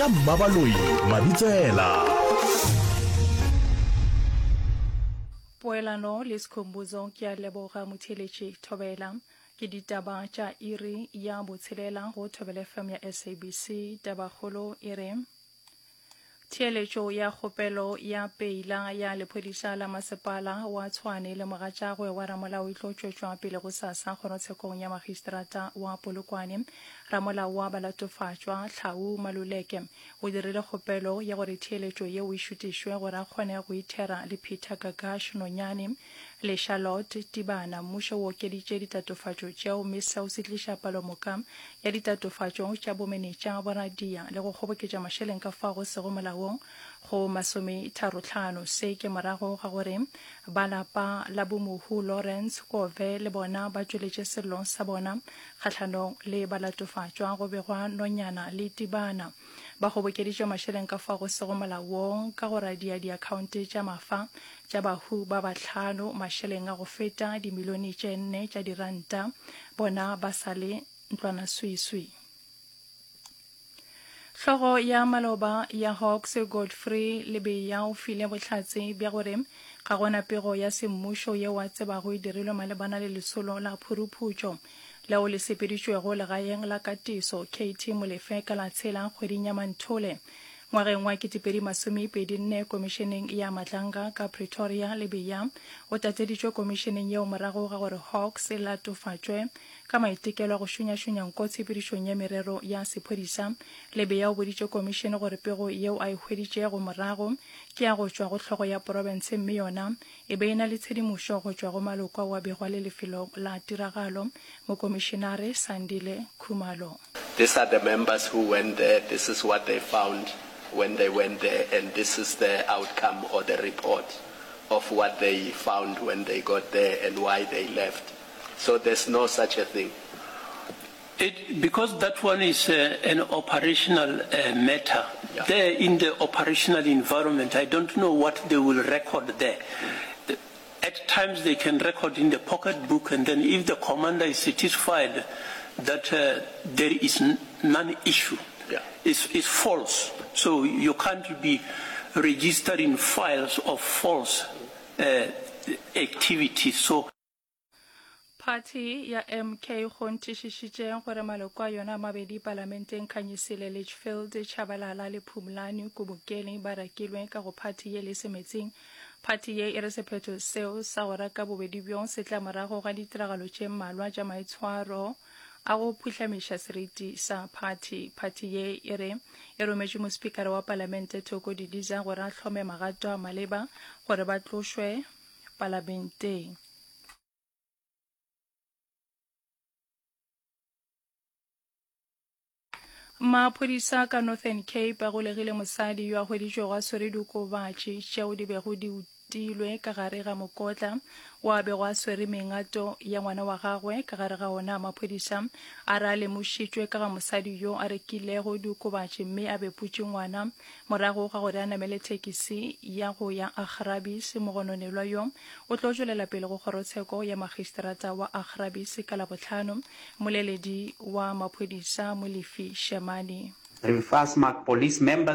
Ka Mmabaloi Mabitsela. Poelano le Skhumbuzo ke a leboga motheeletši Thobela. Ke ditaba tša iri ya botshelela go Thobela FM ya SABC. Tabakgolo e re Theeletšo ya kgopelo ya peila ya lephodisa la masepala wa Tshwane le mogatšagwe wa ramolao e tlo tšwetšwa pele gosasa kgorotshekong ya magistrata wa Polokwane. Ramolao wa balatofatšwa, Tlhau Maluleke, o dirile kgopelo ya gore theeletšo yeo e šutišwe gore a kgone go ithera le Peter Gagash Nonyane le Charlotte Tibana. Mmušo o okeditše ditatofatšo tšeo mme seo se tliša palomoka ya ditatofatšo tša bomenetša, boradia le go kgoboketša mašeleng ka fao go sego molaong go masometharohlano. Se ke morago ga gore ba lapa la bomohu Lawrence Kove le bona ba tšweletše sello sa bona kgahlanong le balatofatšwa go begwa Nonyana le Tibana. Ba kgobokeditše mašeleng ka fao go sego molaong ka go radia diakhaonte tša mafa tša bahu ba bahlano mašeleng a go feta dimilione tše nne tša diranta, bona ba sa le ntlwanaswiswi. Hlogo ya maloba ya Hawks Godfrey Lebeya o file bohlatse bja gore ga gona pego ya semmušo yeo a tsebago e dirilwe malebana le lesolo la phuruphutšo leo le sepeditšwego legaeng la katiso KT Molefe ka la tshela kgweding ya Manthole ngwageng wa 2024 Komišeneng ya Matlanga ka Pretoria. Lebeya o tateditšwe komišeneng yeo morago ga gore Hawks e latofatšwe Ka maitekelo a go šunyašunya nko tshepedišong ya merero ya sephodisa, Lebeya o boditše komišene gore pego yeo a e hweditšego morago ke ya go tšwa go hlogo ya profense mme yona e be e na le tshedimošo go tšwa go maloko ao a bego a le lefelong la tiragalo, Mokomišenare Sandile Khumalo. These are the members who went there, this is what they found when they went there and this is the outcome or the report of what they found when they got there and why they left. So there's no such a thing. It, because that one is uh, an operational uh, matter. Yeah. There in the operational environment, I don't know what they will record there. Mm. At times they can record in the pocketbook, and then if the commander is satisfied that uh, there is none issue, yeah. it's, it's false. So you can't be registering files of false uh, activities. So Phathi ya MK e kgonthišišitše gore maloko a yona a mabedi palamenteng Khanyisile Litchfield Tshabalala le Phumlani Kubukeli ba rakilwe ka go phathi ye le semetsing. Phathi ye e re sephetho seo sa go raka bobedi bjo se tla morago ga ditiragalo tše mmalwa tša maitshwaro a go phuhlamiša seriti sa phathi. Phathi ye e re e rometše mospikara wa palamente Thoko Didiza gore a hlome magato a maleba gore ba tlošwe palamenteng. Maphodisa ka Northern Cape a golegile mosadi yo a hweditšwego a swere diokobatši tšeo di bego di utilwe ka gare ga mokotla wo a bego a swere mengato ya ngwana wa gagwe ka gare ga ona. Maphodisa a re a lemošitšwe ka ga mosadi yo a rekilego diokobatši mme a beputše ngwana Morago ga gore a namele thekisi ya go ya Augrabies, mogononelwa yo o tlo tšwelela pele go kgorotsheko ya magistrata wa Augrabies ka Labohlano, mmoleledi wa maphodisa Molefi Shemane. Riemvasmaak Police members.